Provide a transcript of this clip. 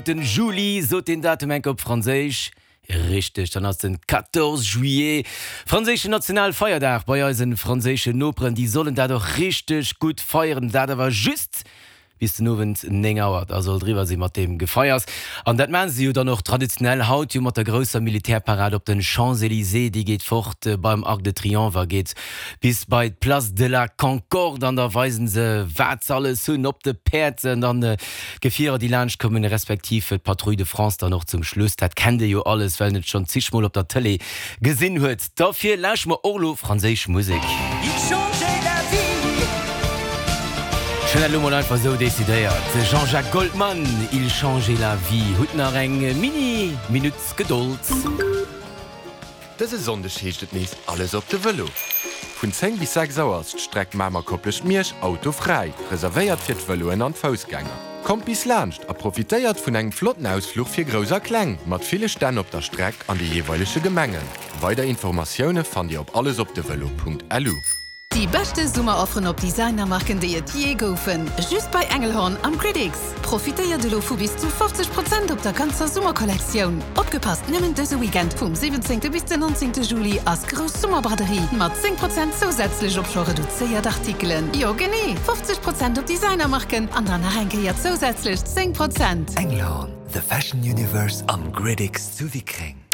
Den Juli, sot deen Datum enke op Franséisch. Richteg, dann ass den 14 juillet franséischen Nationalfeierdag bei eisen franséischen Noperen. Déi sollen dat och richteg gutt feieren, dat awer just bis den Owend 9 Auer, da soll et eriwwer si mat deem Gefeiers. An dat maachen se jo dann och traditionell haut jo mat der grousser Militärparad op den Champs-Elysées. Déi geet fort beim Arc de Triomphe a geet bis bei d'Place de la Concorde an da weisen se wat se alles hunn op de Päerd an dann D'Gefierer déi laanscht kommen, respektiv d'Patrouille de France dann och zum Schluss, dat kennt Dir jo alles, well en et schonn zig mol op der Tëlee gesinn huet. Derfir lauschteren mer och elo franséisch Musek. Ech hunn dat elo mol einfach esou decidéiert. Jean-Jacques Goldman, Il changeait la vie. Hutt nach eng mini Minutt Gedold. Dëse Sonndeg heescht et nees Alles op de Vëlo! Vun 10 bis 6 Auer ass d'Streck Mamer-Koplescht-Miersch autofräi, reservéiert fir d'Vëloen an d'Foussgänger. Kommt bis laanscht a profitéiert vun engem flotten Ausfluch fir Grouss a Kleng, mat ville Stänn op der Streck an de jeeweilege Gemengen. Weider Informatioune fannt Dir op allesopdevelo.lu. Déi beschte Summerofferen op Designermarken déi et jee goufen, just bei Engelhorn am Critics! Profitéiert elo vu bis zu 50 Prozent op der ganzer Summerkollektioun! Opgepasst, nëmmen dëse Weekend vum 17 bis den 19 Juli ass grouss Summerbraderie mat 10 Prozent zousätzlech op scho reduzéiert Artikelen. Jo genee, 50 Prozent op Designermarken an dann nach eng Kéier zousätzlech 10 Prozent! Engelhorn, the fashion universe am Critics zu Wickreng.